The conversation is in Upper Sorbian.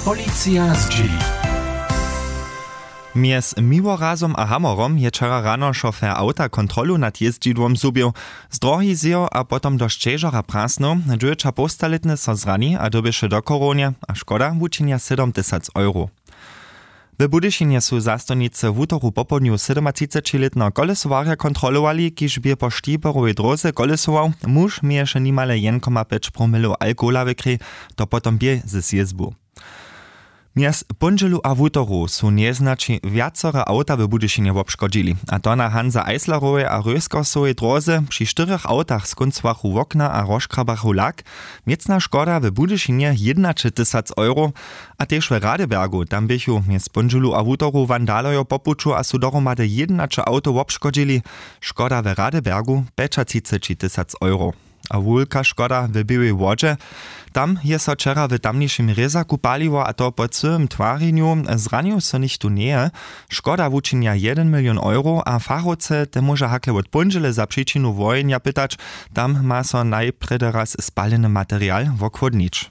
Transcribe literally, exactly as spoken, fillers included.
Policija zdźěli. Mjez Miłorazom a Hamorom je wčera rano šofer awta kontrolu nad jězdźidłom zhubił. Z drohi zjěł a potom do šćežora prasnył. Dźewjećapołstalětny so zrani a dyrbješe do chorownje a škoda wučinja sydomtysac euro. W Budyšinje su zastojnicy wutoru popołdnju sydomatřicećilětneho kolesowarja kontrolowali, kiž bě po štiberowej dróze kolesował. Muž měješe nimale jedn koma pjeć promilow alkohola w krěj. To potom bě ze sjězbu. Mjez póndźelu a wutoru su njeznaći wjacore awta w Budyšinje wobškodźili, a to na Hansa Eislerowej a Röskersowej dróze. Při štyrjach awtach skóncowachu wokna a rozkrabachu lak. Měcna škoda w Budyšinje jědnaćetysac euro. A tež w Radebergu, tam běchu mjez póndźelu a wutoru wandalojo po puću a su dohromady jědnaće awtow wobškodźili. Škoda w Radebergu pjećatřicećitysac euro. A wulka škoda w Běłej Wodźe. Tam je so wčera w tamnišim rězaku paliło, a to po cyłym twarjenju. Zranił so nichtó njeje. Škoda wučinja jedyn milion euro a fachowce te móža hakle wot póndźele za přičinu wohenja pytać. Tam ma so najprjedy raz spaleny material wochłódnić.